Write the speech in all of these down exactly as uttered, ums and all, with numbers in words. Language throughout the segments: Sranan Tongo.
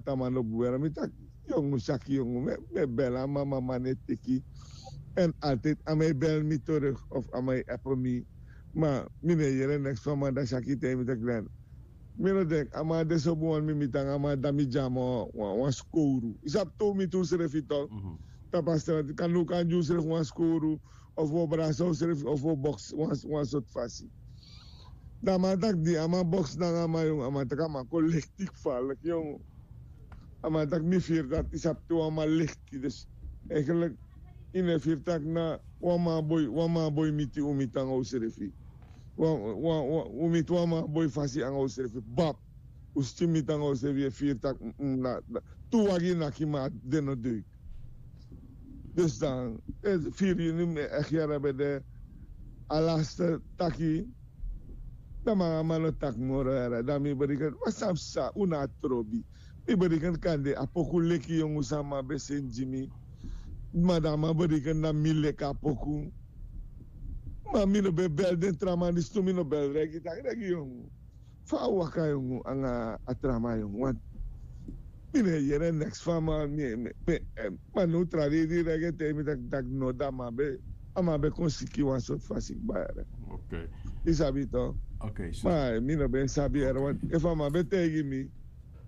Tamano buera mi taki yongu saki yongu mi e bel a mama man e teki. En altijd a man e bel mi terug of a man e app mi. Ma mi no e yere neks fu a man dan saki te mi taki dan mi no denk a man de so bun wan mi mi tan a man dan mi dyama wan skowru yu sabi tow mi tu srefi tok. Tapu a strati kan nu kan gi usrefi wan skowru of wi o brasa usrefi of wi o boks wan sortu fasi. Dan a man taki di a man boks nanga a man yongu a man taki a man kon leki gevaarlijk yongu. A man taki mi firi dati yu sabi te wan man leki dus eigenlijk yu no e firi taki na wan man boi wan man boi miti un miti nanga usrefi. Un miti wan man boi fasi nanga usrefi bab. Un skin miti nanga usrefi yu e firi taki tu wagi naki ma den no deuk. Dus dan firi yuni mi e echt yara ben de a laste taki. Dan man a man no taki moro yara dan mi beriken ma san psa un na a trobi. Mi beriken kan de a poku leki yongu san man ben seni gi mi. Ma dan a man beriken na mi leki a poku. Ma mi no ben bel den tra man disi tu mi no bel regi taki regi yongu. Fa a waka yongu anga a tra man yongu want mi no e yere neks fu a man mi e mi e mi e ma now tra dei di regi e taigi mi tak' no dan a man ben a man ben kon siki wan sortu fasi kba yere. Yu sabi yu to? Ma mi no ben sabi yere want efu a man ben taigi mi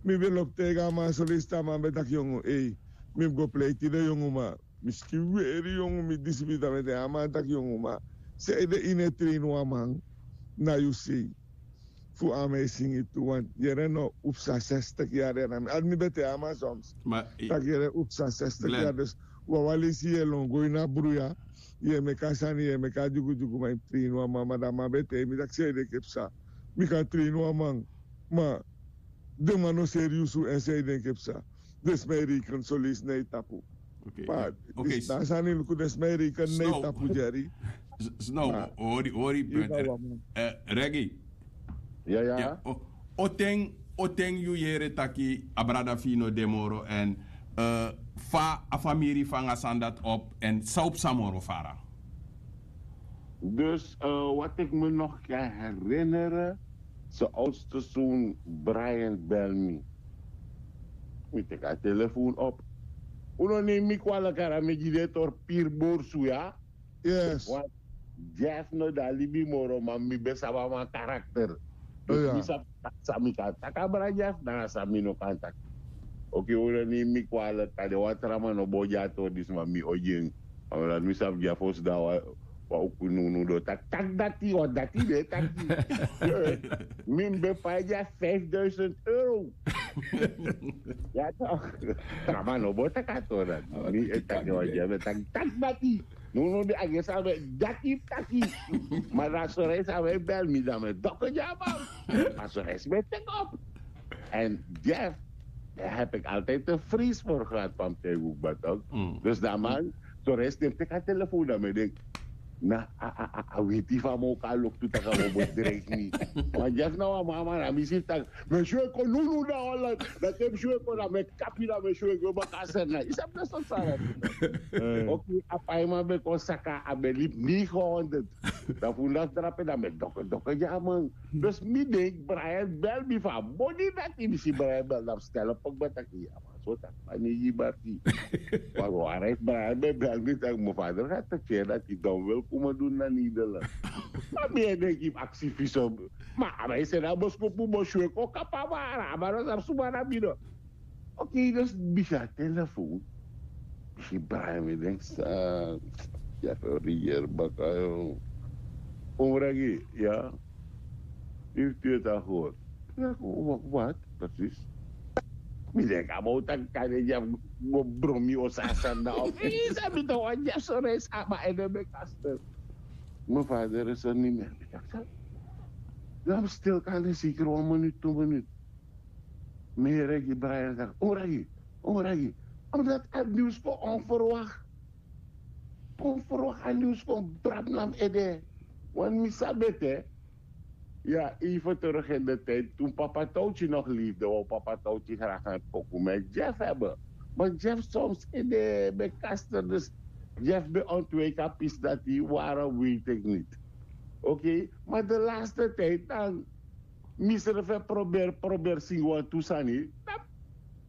mi ben lobi taigi a man soleisi te a man ben taki yongu ei mi mus go pleiti den yongu man. Mi skin weri yongu mi disi mi dan mi e taigi a man taki yongu man. Sanede yu no e treini wan man na yu sei. Fu a man e singi tu want yere no un psa sestik yari yari na mi adi mi ben te a man soms. Taki yere un psa sestik yari dus wawan leisi yu e lon go ini a bruya. Yu e meki a sani yu e meki a dyugudyugu ma yu mus treini wan man ma dan a man ben te mi taki san yu denki e psa. Mi kan treini wan man ma den man no seriusu èn san yu denki e psa. Den sma e reiken soleisi na yu tapu. Ma dan a sani luku den sma e reiken na yu tapu dyari. Snow hori hori brother. Regi. Ya ya. O ten o ten yu yere taki a brada fu yu no de moro èn fa a famiri fu anga sani dati op èn san o psa moro fara? Dus wat ik me nog kan herinneren, zijn oudste zoon Brian bel mi. Mi teki a telefoon op. Un no neem mi kwalik ara mi gi den tori piri borsu ya. Yes. Jeff no de a libi moro ma mi ben sabi a man karakter. Dus mi sabi san mi kan taki abra jeff nanga san mi no kan taki. Oke un no neem mi kwalik kande wan tra man no bo gi a tori disi ma mi o gi en. Omdat mi sabi jeff o sidon a wan uku nunu do taki taki dati wan dati de taki. Mi mi ben pai gi a vijfduizend euro. Ya tok. Tra man no bo taki a tori dati mi e taki wan jeff e taki taki dati. No no di a gesi a ben dati taki. Ma dan a sori esi a ben bel mi dan mi doko gi a man. A sori esi ben teki op. En jeff heb ik altijd de vrees voor gehad van mi te yu kba tok. Dus dan man sori esi den teki a telefoon dan mi e denki na a weti fu a man o kon a loktu tak' a man o bedreigi mi. Ma jeff na wan mama na mi si taki mi e sweko nunu na holland. Dati e mi sweko na mi e kapi na mi e sweko baka a seri na yu sabi na soti sani. Oke a paiman ben kon saka a ben libi negenhonderd. Dan fu un dati drape dan mi e doko doko gi a man. Dus mi denki brian bel mi fu a boni dati mi si brian bel dan mi stel op pokba taki ya man so taki man neigi barki. Wan wan res brian ben bel mi taki mi fader ga taki feri dati don wil kuma dun na nederland. Ma mi e denki fu aksi fu so. Ma a man e seni a boskopu bosi we kon kapa wara a man no sabi suma na mi no. Oke dus mi si a telefoon. Mi si brian mi denki san. Ya fu regeer baka yo. Omragi ya. Yu fu tu yu tan hori. Wat presis. Mi denki a man o taki kan den dyafu go bron mi o san a sani na of yu sabi tan wan dyafu sori esi a man ede meki a stel. Mi fader e soni mi. Dan mi stil kan den sikri wan minut tu minut. Mi yere gi brian taki un regi un regi. Omdat a niws kon onverwak. Kon ferwak a niws kon drapu na mi ede. Wan mi sabi ete. Ya even terug in de tijd toen papa towtyi nog leefde wou papa towtyi graag en poku met jeff hebben. Maar jeff soms in de bekaster dus jeff ben ontwijk a pis dat die waren weet ik niet. Oke maar de laatste tijd dan misrefe probeer probeer singi wan tu sani.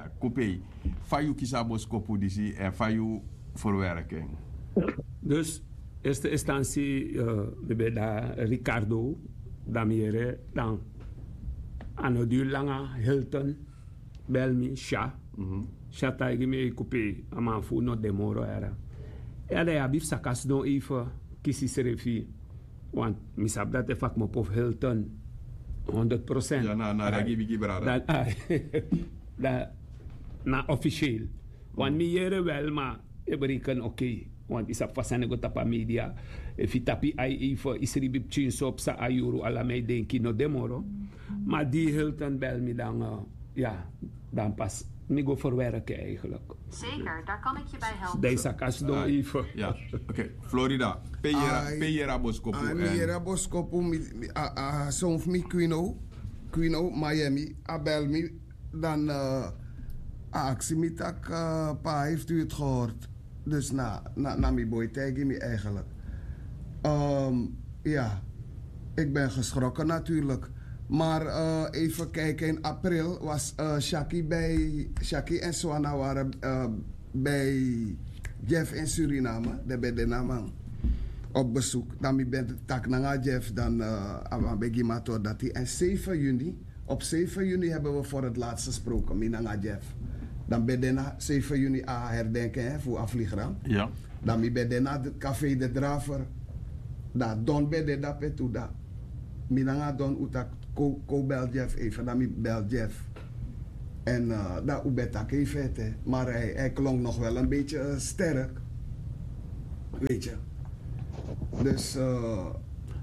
Ya, kupei. Fa yu kisi a boskopu disi èn fa yu ferwerki en? Dus, eerste instantie, eh, mi ben de na Ricardo, dan mi yere, dan a no diri langa, Hilton bel mi, Sha. Sha taigi mi: "Ei, kupei, a man fu unu no de moro." Era, ya, dan yu abi fu saka sidon even, kisi srefi. Want mi sabi dati e fa kmopo fu Hilton, honderd procent. Ya, na, na regi bigi brada. Dan, ah, dan na officieel. Want mi yere wel, ma e bereken, oké. Want yu sabi fa sani e go tapu a media. Efu yu tapu yu ai even, yu sribi pikinso psa a yuru, ala mi e denki no de moro. Ma di Hilton bel mi, dan, eh, ya, dan pas mi go ferwerki eigenlijk. Zeker, daar kan ik je bij helpen. Dan yu saka sidon even. Ya, oké. Florida, pe yu yere, pe yu yere a boskopu? Ai, mi yere a boskopu, mi, mi, a, a son fu mi, Quino, Quino, Miami, a bel mi, dan, eh, a aksi mi taki, eh, pa, heeft u het gehoord? Dus na, na, na mi boi taigi mi eigenlijk. Ehm, ja, ik ben geschrokken natuurlijk. Maar, eh, even kijken, in april was, eh, Shaki bij, Shaki en Swana waren, eh, bij Jeff in Suriname. Dan ben de naman op bezoek. Dan mi ben taki nanga Jeff, dan, eh, a man ben gi mi a tori dati. En zeven juni, op zeven juni hebben we voor het laatst gesproken, mi nanga Jeff. Dan ben de na zeven juni a herdenken, hè, fu a vliegram. Ja. Dan mi ben de na de Café de Draver. Dan Don ben de dape tu, dan mi nanga Don un taki: "Kon, kon bel Jeff even." Dan mi bel Jeff. En, eh, dan un ben taki even, hè. Maar hij, hij klonk nog wel een beetje, eh, sterk. Weet je. Dus. Eh,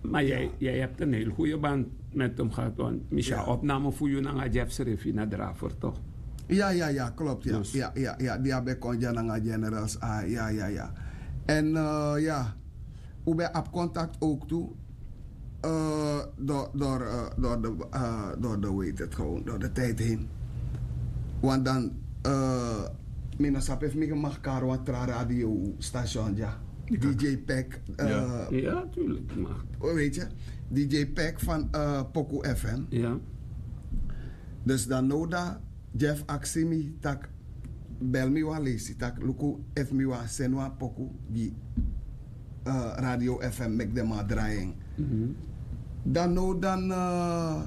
Maar jij, jij hebt een heel goede band met hem gehad, want Michel, ja, opname voor Yunanga Jeff Srefi naar Draver, toch? Ja, ja, ja, klopt. Ja. Dus. Ja, ja, ja. Die heb ik kon Jananga Generals. Ah, ja, ja, ja. En eh, ja, hoe ben op contact ook toe. Eh, door, door, eh, door, de, eh, door de, weet het gewoon, door de tijd heen. Want dan, eh, mi no sabi efu mi mag kari wan tra radiostation, ja. D J Pack. Eh, Ja, tuurlijk, mag. Weet je, D J Pack van eh, Poku F M. Ja. Dus dan noda Jeff aksi mi tak, bel mi wan lesi tak luku efu mi wan seni wan poku gi eh, Radio F M meki den man drai en. Dan no dan eh,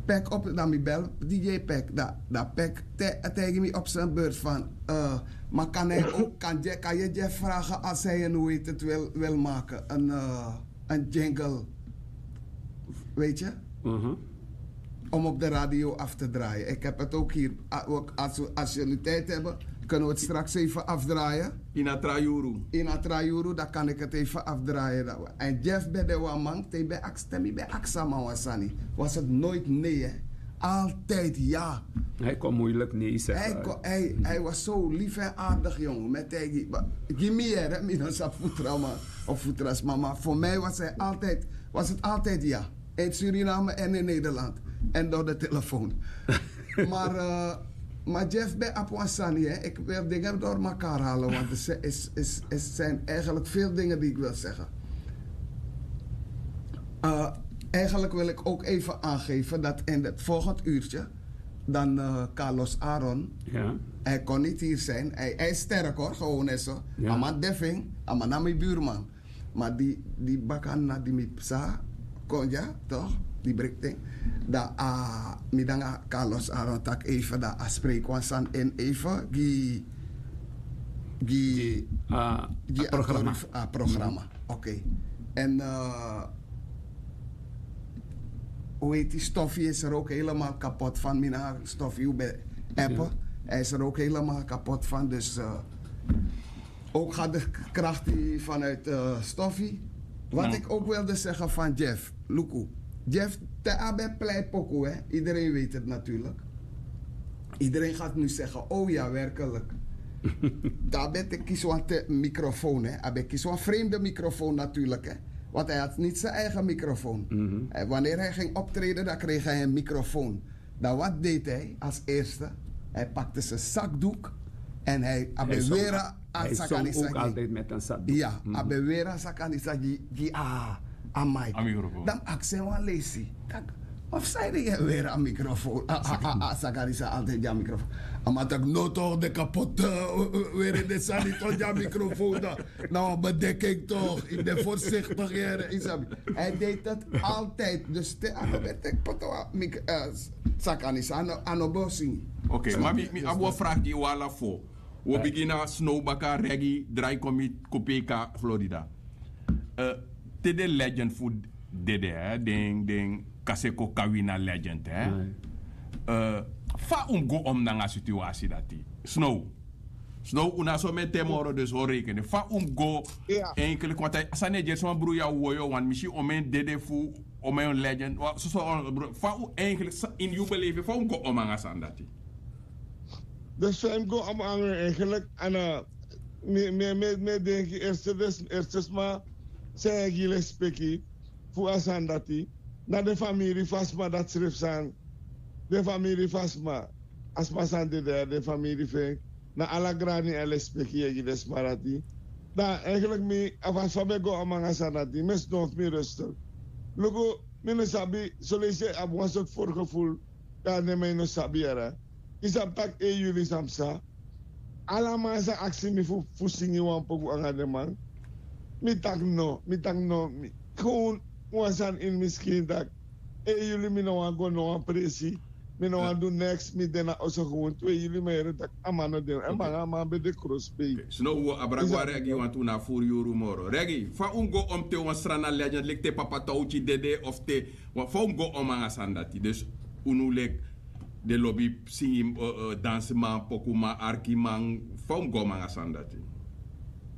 Pack op dan mi bel D J Pack dan, dan Pack te, taigi mi op zijn beurt van eh, maar kan hij ook kan, je, kan je Jeff vragen als hij een, hoe heet het, wil, wil maken een, eh, een jingle, weet je, om op de radio af te draaien. Ik heb het ook hier. Ah, ook als, we, als jullie tijd hebben, kunnen we het straks even afdraaien. Ina tra yuru. Ina tra yuru, dan kan ik het even afdraaien. En Jeff ben de wan man, te ben aks, te mi ben aksa man wan sani. Was het nooit nee, hè? Altijd ja. Hij kon moeilijk nee zeggen. Hij, kon, hij, hij was zo lief en aardig, jongen. Met hij, gi mi here, mi no sa futra man of futra sma, maar voor mij was hij altijd, was het altijd ja. In Suriname en in Nederland. En door de telefoon. Maar, eh, maar Jeff bij Apwansani, hè, ik wil dingen door elkaar halen, want er zijn, is, is, er zijn eigenlijk veel dingen die ik wil zeggen. Eh, eigenlijk wil ik ook even aangeven dat in het volgend uurtje dan eh, Carlos Aaron, Ja. Hij kon niet hier zijn. Hij, hij is sterk hoor, gewoon en zo. Ja. A man defing, a man na mi buurman. Maar die, die bakan na die mi psa, kon ja, toch? Die brekting. Dan a mi dan a Carlos Aaron tak even dan a spreek wan san in even gi gi Ah, gi programma. A programma. Oké. En eh, hoe heet die, Stoffie is er ook helemaal kapot van. Mina Stoffie, hoe ben appen. Hij is er ook helemaal kapot van. Dus eh, ook gaat de kracht die vanuit eh Stoffie. Wat ik ook wilde zeggen van Jeff. Luku. Jeff, te abe plei poku, hè. Iedereen weet het natuurlijk. Iedereen gaat nu zeggen, oh ja, werkelijk. Daarbij te kies wan te microfoon, hè. Hij kies wan vreemde microfoon natuurlijk, hè. Want hij had niet zijn eigen microfoon. En wanneer hij ging optreden, dan kreeg hij een microfoon. Dan wat deed hij als eerste? Hij pakte zijn zakdoek en hij Hij zong, abeweerde hij zong ook altijd met een zakdoek. Ya, a ben weri a saka disi a gi, gi a, a mic. A microfoon. Dan mi aksi en wan lesi. Taki, of san ede yu e weri a microfoon? A, a, a, a saka disi a altijd gi a microfoon. A man taki, no toch, den kapot, eh, weri den sani toch gi a microfoon dan. Na wan bedeking toch, yu de voorzichtig yere, yu sabi. Hij deed het altijd. Dus te a no ben teki poto a mic, eh, saka disi a no, a no bo singi. Oké, ma mi, mi abi wan vraag gi yu ala fo. Wi o bigin na Snow baka, Reggie, Draikomi, Kopeka, Florida. Eh, te den legend fu dede, hè, den, den Kaseko Kawina legend, hè. Eh, fa un mus go om nanga situasi dati? Snow. Snow, un na so mete moro, dus un o rekeni. Fa un mus go, eigenlijk, want a sani e gi sma bruya woyo, want mi si omeni dede fu, omeni legend. Wa-, so, so, bro, fa un eigenlijk, sa-, in yu beleven, fa un mus go om nanga sani dati? Dus fa un mus go om nanga eigenlijk, a na, mi, mi, mi, mi e denki eerste, dus, eerste sma san e gi lespeki fu a sani dati, na den famiri fu a sma dati srefi san, den famiri fu a sma, a sma san dede, den famiri fu en, na ala grani èn lespeki yu e gi den sma dati. Dan eigenlijk mi, a fasi fa mi e go om nanga sani dati, mi e sidon fu mi rustig. Luku, mi no sabi, son leisi yu abi wan sortu voorgevoel, dan den man yu no sabi yere. Yu sabi taki, eh, yuli san psa. Ala man sa aksi mi fu, fu singi wan poku anga den man. Mi taki no, mi taki no, mi, gewoon wan sani ini mi skin taki, eh, yuli, mi no wani go no wan presi. Mi no wani du neks, mi de na oso gewoon. Te yuli mi yere taki a man no de, èn banga a man ben de krosbei. Snow, wi o abra go na Reggie, want un na furu yuru moro. Reggie, fa un mus go om te wan Srana legend, leki te Papa Tauti dede of te, wa-, fa un mus go om nanga sani dati? Dus unu leki den lobi singi, eh, eh, dansiman, pokuman, arkiman, fa un mus go om nanga sani dati?